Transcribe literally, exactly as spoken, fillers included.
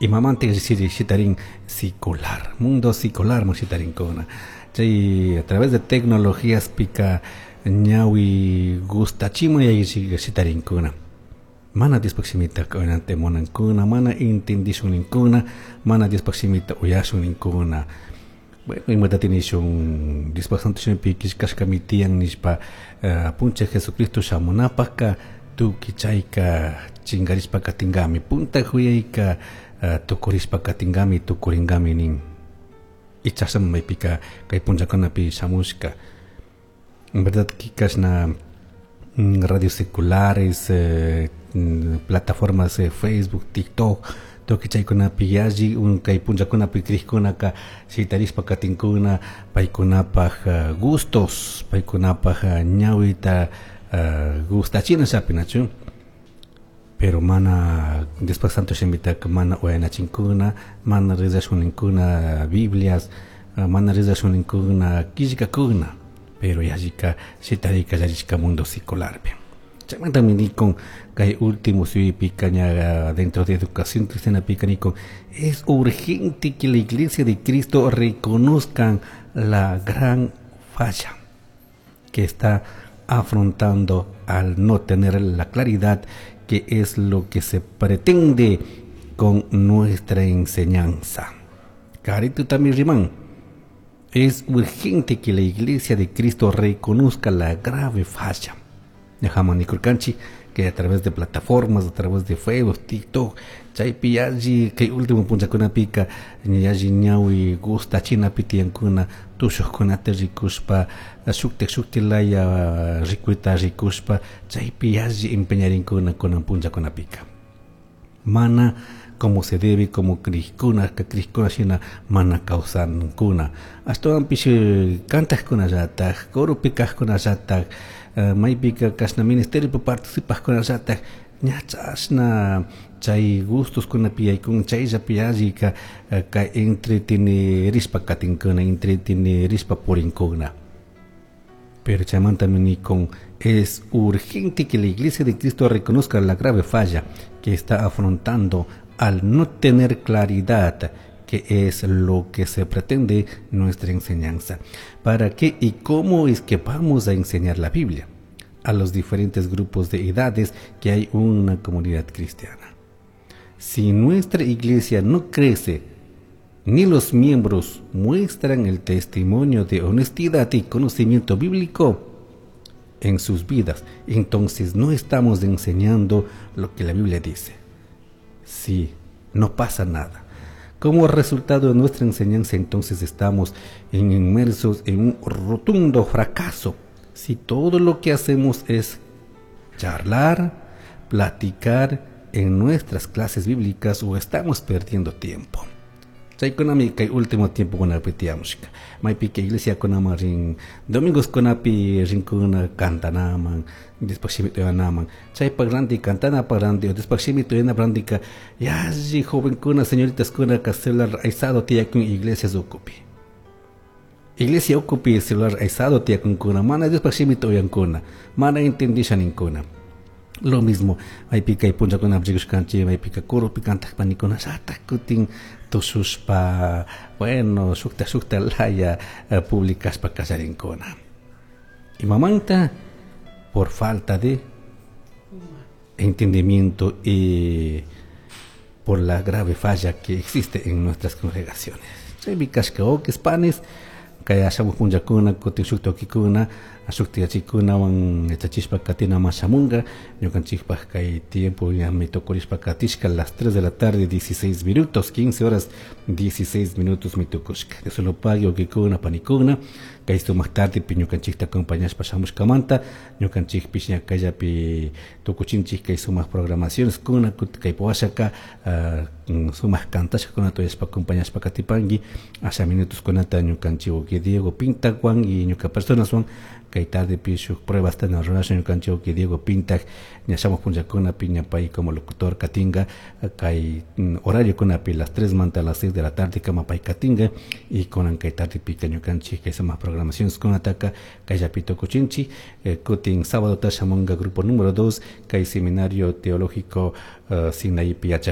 Imamanta shitarin secular, mundo secular shitarinkuna. Chay a través de tecnologías pika ñawi gustachimun shitarinkuna. Mana Diospaj shimita uyanata munankuna, mana intendishun ninkuna, mana Diospaj shimita uyashun ninkuna. Bueno, imata nishun Diospaj santo shimipi killkashkami tiyan nishpa uh, puncha Jesucristo shamunapajka tukuy chayka chingarishpa katingami, punta juyayka uh, tukurishpa katingami, tukuringami nin. Ichasam maypika kay punchakunapi shamushka. En verdad kashna mm, radios seculares, eh, mm, plataformas de Facebook, TikTok, tukuy chaykunapi yalli un kay punchakunapi krikkunaka shitarishpa katinkuna paykunapaj uh, gustos, paykunapaj uh, ñawita uh, gustachina shapinachu. Pero mana Diospaj santo shimitaka mana uyanachinkuna, mana rezashuninkuna Biblias, uh, mana rezashuninkuna killkakuna, pero yallika shitarika yallishka mundo secularpi. Chaymantami nikun kay último suypika ña dentro de educación cristiana pika nikun es urgente que la iglesia de Cristo reconozcan la gran falla que está afrontando al no tener la claridad que es lo que se pretende con nuestra enseñanza. Carito también riman. Es urgente que la iglesia de Cristo reconozca la grave falla. Dejamos nikurkanchik que a través de plataformas, a través de Facebook, TikTok, chaypi yalli kay último punchakunapika yalli ñawi gustachinapi tiyankuna tushuqkunata rikushpa shuktik shuktik laya rikuyta rikushpa chaypi yalli empeñarinkuna kunan punchakunapika. Mana como se debe, como krikuna, krikuna shina mana kawsankuna. Ashtawanpish kantaqkunallataj, coropi kaqkunallataj, maypika kashna ministeriopi participaqkunallataj, ña chashna chay gustoskunapi yaykun chayllapi yallika kay entretenerishpa katinkuna, entretenerishpa purinkuna. Pero chaymantami nikun es urgente que la Iglesia de Cristo reconozca la grave falla que está afrontando al no tener claridad que es lo que se pretende nuestra enseñanza. ¿Para qué y cómo es que vamos a enseñar la Biblia a los diferentes grupos de edades que hay una comunidad cristiana? Si nuestra iglesia no crece, ni los miembros muestran el testimonio de honestidad y conocimiento bíblico en sus vidas, entonces no estamos enseñando lo que la Biblia dice. Sí, no pasa nada. Como resultado de nuestra enseñanza, entonces estamos inmersos en un rotundo fracaso. Si todo lo que hacemos es charlar, platicar en nuestras clases bíblicas o estamos perdiendo tiempo. Chaykunami kay último tiempo kunapi tiyamushka. Maypika iglesia kunaman rin domingos kunapi rinkuna cantanaman, después shimita uyanaman. Chaypak ranti cantanapak ranti, después shimita uyanapa rantika yalli jovenkuna, señoritas kuna ka celular aysado tiyakun iglesias ukupi. Iglesia ukupi celular aysado tiyakunkuna, mana Diospaj shimita uyankuna, mana entendisha ninkuna. Lo mismo, maypika kay punchakuna rikushkanchik, maypika coropi kantak panikuna llatak kutin tushushpa, bueno, shukta shukta laya publicashpa kallarinkuna. Imamanta por falta de entendimiento y por la grave falla que existe en nuestras congregaciones. Chaymi kashka uquis panis, kay shamuj punllakuna kutin shuk tukikuna shuk yachikunawan yachachishpa katinaman shamunga ñukanchikpak kay tiempo ñami tukurishpa katishka las tres de la tarde dieciséis minutos, quince horas dieciséis minutos mi tukushka. Dios lo pague uquikuna panikuna kay sumak tarde pi ñukanchikta acompañashpa shamushkamanta ñukanchikpish ña kayllapi tukuchinchik kay sumak programaciones kuna kay washaka uh, sumak kantashkakuna tuyashpa acompañashpa katipanki asha minutos kunata ñukanchik uki Diego Pintahuan y ñuka personaswan kay tarde pi shuk pruebas tana rurashun ñukanchik uki Diego Pintak ña shamuj punllakunapi ña pay como locutor katinga kay horario kunapi las tres manta a las seis de la tarde kama pay katinga y kunan kay tarde pika ñukanchik kay sumak programaciones kunataka kayllapi tukuchinchik eh, kutin sábado ta shamunga grupo número dos kay seminario teológico uh, Sinaí yachaj